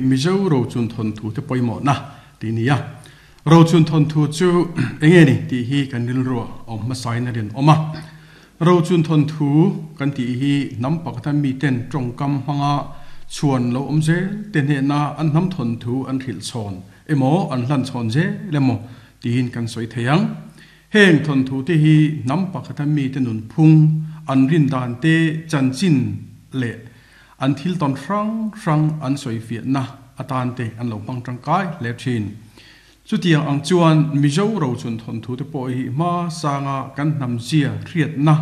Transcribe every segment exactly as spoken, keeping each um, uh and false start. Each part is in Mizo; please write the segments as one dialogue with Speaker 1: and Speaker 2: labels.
Speaker 1: Mizo Rochun thawnthu te pawimawhna tih a ni a. Rochun thawnthu chu eng nge ni tih hi kan rilru a awm hmasain a rinawm a. Rochun thawnthu kan tih hi hnam pakhata miten tawngkam hmanga chhuan lo awm zel te hnehna an hnam thawnthu an hrilh chhawn emaw an hlan chhawn zel emaw tiin kan sawi thei ang. Heng thawnthu te hi hnam pakhata mite nunphung an rin dan te chanchin leh an thil tawn hrang hrang an sawi fiahna atan te an lo hmang tangkai hle thin. Chutiang ang chuan Mizo Rochun thawnthu te pawh hi hma sanga kan hnam zia hriatna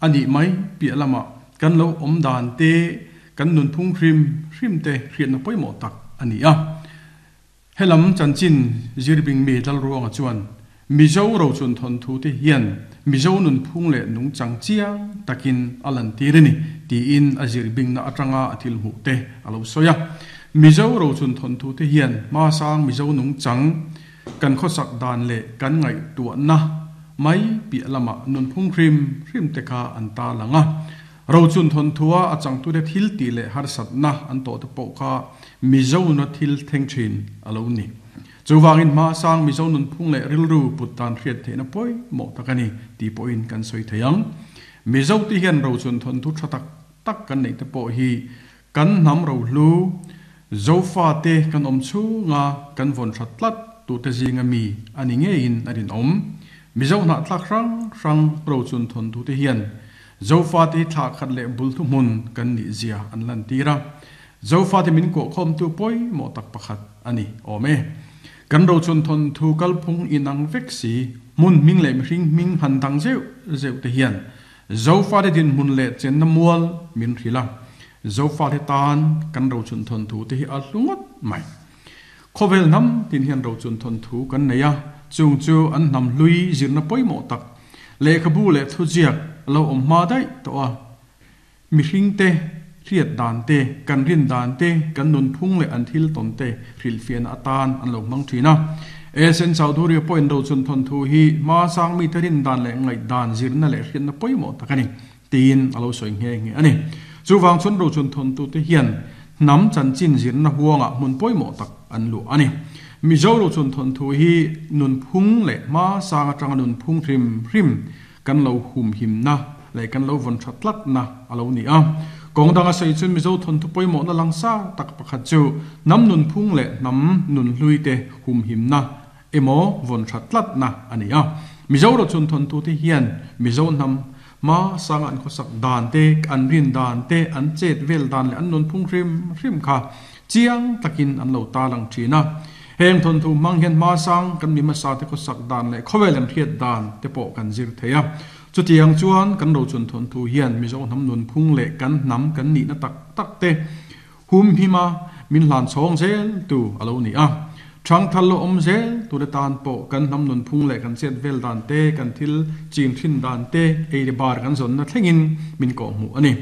Speaker 1: a nih mai piah lamah kan lo awm dan te, kan nunphung hrim hrim te hriatna pawimawh tak a ni a. Helam chanchin zirbing mi Lalruanga chuan Mizo Rochun thawnthu te hian Mizo nunphung leh nungchang chiang takin a lantir a ni tiin a zirbingna atanga a thil hmuh te a lo sawi a. Mizo Rochun thawnthu te hian hmasang Mizo nungchang kan khawsak dan leh kan ngaihtuahna mai piah lamah nunphung hrim hrim te kha an ta lang a. Rochun thawnthu-a a changtute thil tih leh harsatna an tawh te pawh kha Mizo na thil thleng thin a lo ni. Chuvangin hmasang Mizo nunphung leh rilru put dan hriat theihna pawimawh tak a ni tih pawhin kan sawi thei ang. Mizo te hian Rochun thawnthu tha tak tak kan neih te pawh hi kan hnam rohlu, Zofate kan awm chhunga kan vawn that tlat tute zinga mi a ni ngeiin a rinawm. Mizo hnahtlak hrang hrang Rochun thawnthu te hian Zofate hi thlah khat leh bul thuhmun kan nih zia an lantir a. Zofate min kawhkhawmtu pawimawh tak pakhat a ni awm e. Kan Rochun thawnthu kalphung inang vek si, hmun hming leh mihring hming han dang zeuh zeuh te hian Zofate dinhmun leh chenna mual min hrilh a. Zofate tan kan Rochun thawnthu te hi a hlu ngawt mai. Khawvel hnam tin hian Rochun thawnthu kan nei a, chung chu an hnam hlui zirna pawimawh tak, lehkhabu leh thuziak lo awm hma daih tawh a. Mihring te hriat dan te, kan rin dan te, kan nunphung leh an thil tawn te hrilhfiahna atan an lo hmang thin a. Esen Chowdhury pawhin Rochun thawnthu hi hmasang mite rin dan leh ngaihdan zirna leh hriatna pawimawh tak a ni tiin a lo sawi nghe nghe a ni. Chuvang chuan Rochun thawnthu te hian hnam chanchin zirna huangah hmun pawimawh tak an luah a ni. Mizo Rochun thawnthu hi nunphung leh hmasang atanga nunphung hrim hrim kan lo humhimna leh kan lo vawn tha tlatna a lo ni a. Kawng danga sawi chuan Mizo thawnthu pawimawhna langsa tak pakhat chu hnam nunphung leh hnam nunhlui te humhimna emaw vawn tha tlatna a ni a. Mizo Rochun thawnthu te hian Mizo hnam hmasanga an khawsak dan te, an rin dan te, an chet vel dan leh an nunphung hrim hrim kha chiang takin an lo tarlang thin a. Heng thawnthu hmang hian hmasang kan mi hmasa te khawsak dan leh khawvel an hriat dan te pawh kan zir thei a. Chutiang chuan kan Rochun thawnthu hian Mizo hnam nunphung leh kan hnam kan nihna tak tak te humhima min hlan chhawng zel tu a lo ni a. Thangthal lo awm zel tu te tan pawh kan hnam nunphung leh kan chet vel dan te, kan thil chin thin dan te, ei leh bar kan zawnna thlengin min kawhhmuh a ni.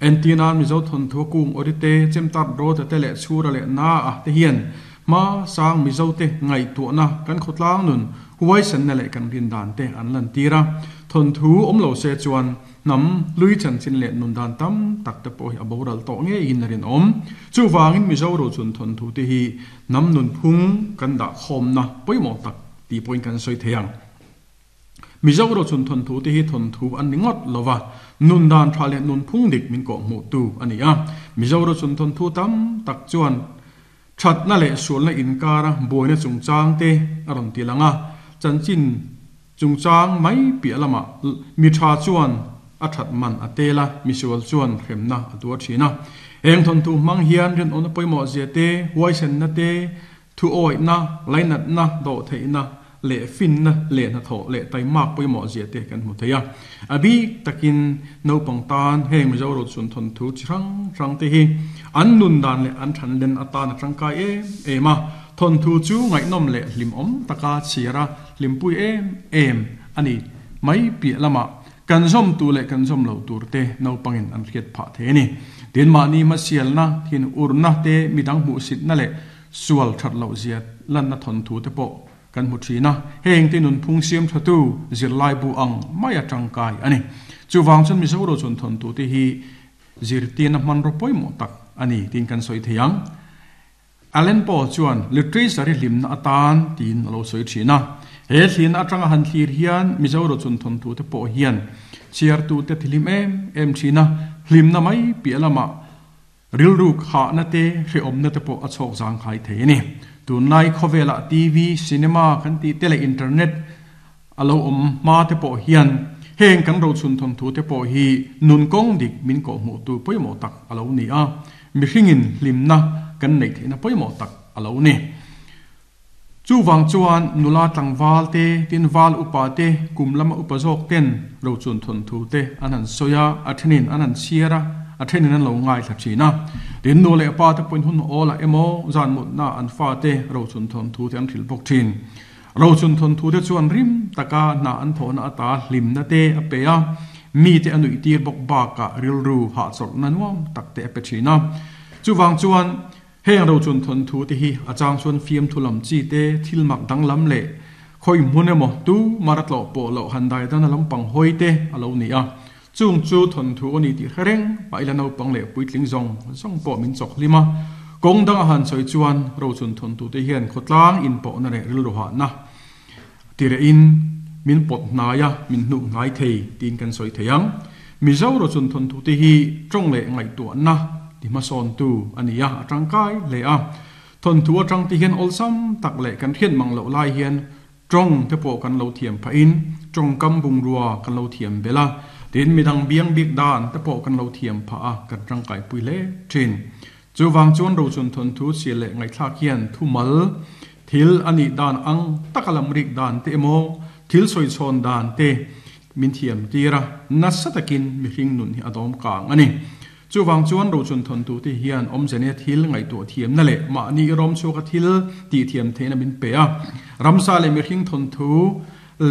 Speaker 1: Entirnan Mizo thawnthu a kung awri te, chemtat rawta te leh chhura leh na a te hian hmasang Mizo te ngaihtuahna kan khawtlang nun huaisanna leh kan rin dan te an lantir a. Thawnthu awm lo se chuan hnam hlui chanchin leh nun dan tam tak te pawh hi a boral tawh ngeiin a rinawm. Chuvangin Mizo Rochun thawnthu te hi hnam nunphung kan dah khawmna pawimawh tak tih pawhin kan sawi thei ang. Mizo Rochun thawnthu te hi thawnthu an ni ngawt lova, nun dan tha leh nunphung dik min kawhhmuh tu a ni a. Mizo Rochun thawnthu tam tak chuan thatna leh sualna inkara buaina chungchang te a rawn ti lang a. Chanchin chungchang mai piah lamah mi tha chuan a that man a tel a, misual chuan hremna a tuar thin a. Heng thawnthu hmang hian rinawmna pawimawh zia te, huaisenna te, thu awihna, lainatna, dawhtheihna leh finna leh hnathawh leh taimak pawimawh zia te kan hmu thei a. A bik takin naupang tan heng Mizo Rochun thawnthu chi hrang hrang te hi an nun dan leh an thanlen atan a tangkai em em a. Thawnthu chu ngaihnawm leh hlimawm taka chhiar a hlimpui em em a ni mai piah lamah kan zawm tu leh kan zawm lo tur te naupangin an hriat phah thei a ni. Tin, mahni hmasialna, thin urna te, midang hmuhsitna leh sual that loh zia lanna thawnthu te pawh kan hmu thin a. Heng te nunphung siam thatu zirlai bu ang mai a tangkai a ni. Chuvang chuan Mizo Rochun thawnthu te hi zirtirna hmanraw pawimawh tak a ni tiin kan sawi thei ang. Allen Poe chuan literature hi hlimna atan tiin a lo sawi thin a. He thlirna atanga han thlir hian Mizo rochun thawnthu te pawh hian chhiartu te thihlim em em thin a, hlimna mai piah lamah rilru khahna te hrehawmna te pawh a chhawk zangkhai thei a ni. Tunlai khawvelah T V, cinema kan tih te leh internet a lo awm hma te pawh hian heng kan rochun thawnthu te pawh hi nun kawng dik min kawhhmuh tu pawimawh tak a lo ni a, mihringin hlimna kan neih theihna pawimawh tak a lo ni. Chu wang chuan nula tlangval te tin val upa te kum lama upa zawk ten rochun thawnthu te an han sawi a, a thenin an han chhiar a, a thenin an lo ngai thla thin a. Tin nu leh pa te pawhin hun awlah emaw zan mutna an fa te rochun thawnthu te an hrilh bawk thin. Rochun thawnthu te chuan rim taka hna an thawhna ata hlimna te a pe a, mi te a nuih tir bawk bakah rilru hahchawlhna nuam tak te a pe thin a. Chu wang chuan heng rochun thawnthu te hi a chang chuan fiam thu lam chi te thil mak dang lam leh khoi hmun emaw tu mara tlawh pawh loh han dai dan a lampang hawi te a lo ni a. Chung chu thawnthu a ni tih hrereng mah ila naupang leh puitling zawng zawng pawh min chawk hlim a. Kawng dang a han sawi chuan rochun thawnthu te hian khawtlang in pawhna leh rilru hahna tire in min pawt hnai a, min hnuh hnai thei tiin kan sawi thei ang. Mizo rochun thawnthu te hi tawng leh ngaihtuahna ti hmasawn tu a ni a, a tangkai hle a. Thawnthu atang ti hian awlsam tak leh kan hriat mang loh lai hian tawng te pawh kan lo thiam phahin tawng kam bungrua kan lo thiam bel a, tin midang biang bik dan te pawh kan lo thiam pha a, kan tangkai pui hle thin. Chu wang chuan rochun thawnthu chhiar leh ngaihthlak hian thumal thil a nih dan ang taka lam rik dan te emaw thil sawi chhawn dan te min thiam tir a, nasa takin mihring nun hi a dawm kang a ni. Chu wang chuan rochun thawnthu te hian awmzene thil ngaihtuah thiamna leh mahni rawm chhuaka thil tih thiam theihna min pe a. Ramsa leh mihring thawnthu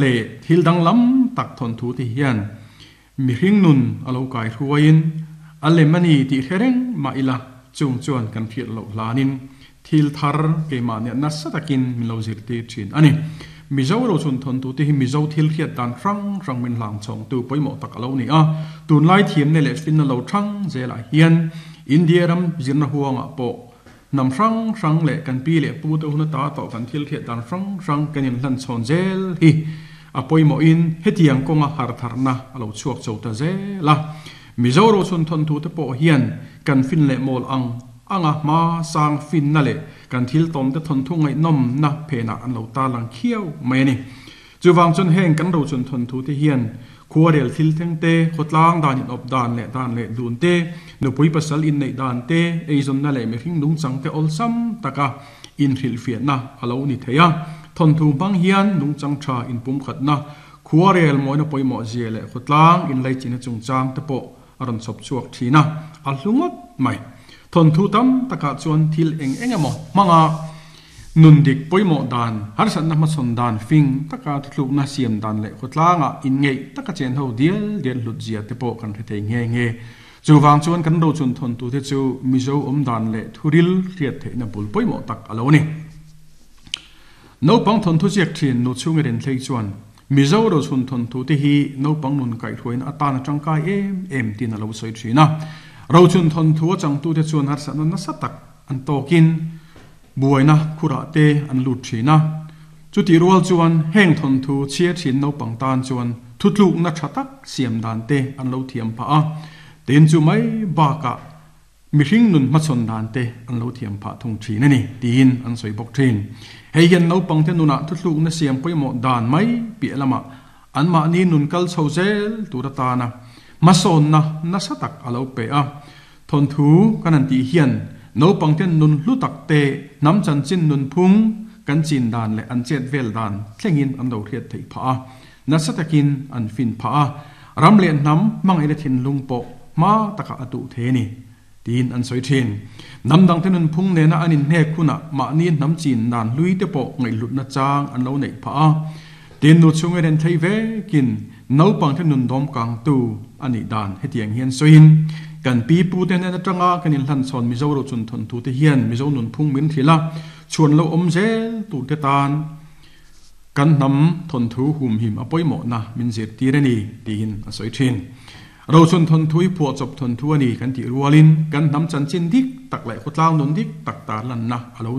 Speaker 1: leh thil danglam tak thawnthu te hian mihring nun a lo kai hruaiin a lem a ni tih hrereng mah ila chung chuan kan hriat loh hlanin thil thar keimah nia nasa takin min lo zir tir thin a ni. Mizo rochun thawnthu te hi Mizo thil hriat dan hrang hrang min hlang chhawng tu pawimawh tak a lo ni a. Tunlai thiamna leh finna lo thang zelah hian India ram zirna huangah pawh hnam hrang hrang leh kan pi leh pu te huna ta tawh kan thil hriat dan hrang hrang kan in hlan chhawn zel hi a pawimawhin hetiang kawnga har tharna a lo chhuak chho ta zel a. Mizo rochun thawnthu te pawh hian kan fin leh mawl ang anga hma sang finna leh kan thil tawm te thawnthu ngaihnawm na phenah an lo ta lang khiau mai a ni. Chu wang chuan heng kan rochun thawnthu te hian khuarel thil thleng te, khawtlang dan in awp dan leh dan leh dun te, nupui pasal in neih dan te, eizawnna leh mihring nungchang te awlsam taka in hrilhfiahna a lo ni thei a. Thawnthu hmang hian nungchang tha in pum khatna, khuarel mawina pawimawh zia leh khawtlang in leichina chungchang te pawh a rawn chhawp chhuak thin a, a hlungawt mai. Thawnthu tam takah chuan thil eng eng emaw hmanga nun dik pawimawh dan, harsatna hmachhawn dan fing taka thuthlukna siam dan leh khawtlangah in ngeih taka chen ho dial dial hlut zia te pawh kan hre thei nge nge. Chu wang chuan kan rochun thawnthu te chu Mizo awm dan leh thuril hriat theihna bul pawimawh tak a lo ni. Naupang thawnthu ziak thin nu chhung i ren thlei chuan Mizo rochun thawnthu te hi naupang nun kaihhruaina atan a tangkai em em tin a lo sawi thin a. Rochun thawnthu a changtu te chuan harsatna nasa tak an tawkin buaina khurah te an lut thin a. Chuti rual chuan heng thawnthu chhiar thin naupang tan chuan thutlukna tha tak siam dan te an lo thiam pha a. Tin chu mai bakah mihring nun hmachhawn dan te an lo thiam pha thung thin a ni tiin an sawi bawk thin. Hei hian naupang te nunah thutlukna siam pawimawh dan mai piah lamah an mahni nun kal chho zel tur atana hmasawnna nasa tak a lo pe a. Thawnthu kan an tih hian naupang ten nun hlu tak te hnam chanchin nun phung kan chin dan leh an chet vel dan thlengin an lo hriat theih pha a, nasa takin an fin pha a, ram leh hnam hmangaihna thinlung pawh hma taka a tuh the ni tiin an sawi thin. Hnam dang te nun phung nena an in hnek hunah mahni hnam chin dan hlui te pawh ngaihhlutna chang an lo neih pha a. Tin nu chhung i ren thei vekin naupang te nun dawm kang tu a nih dan hetiang hian sawiin kan pi pu te nen atanga kan in hlan chhawn Mizo rochun thawnthu te hian Mizo nun phung min hrilh a, chhuan lo awm zel tur te tan kan hnam thawnthu hum him a pawimawhna min zir tir a ni tiin a sawi thin. Rochun thon thui phuah chawp thon thu a ni kan tih rualin kan hnam chanchin dik tak leh khawtlang nun dik tak tar lanna a lo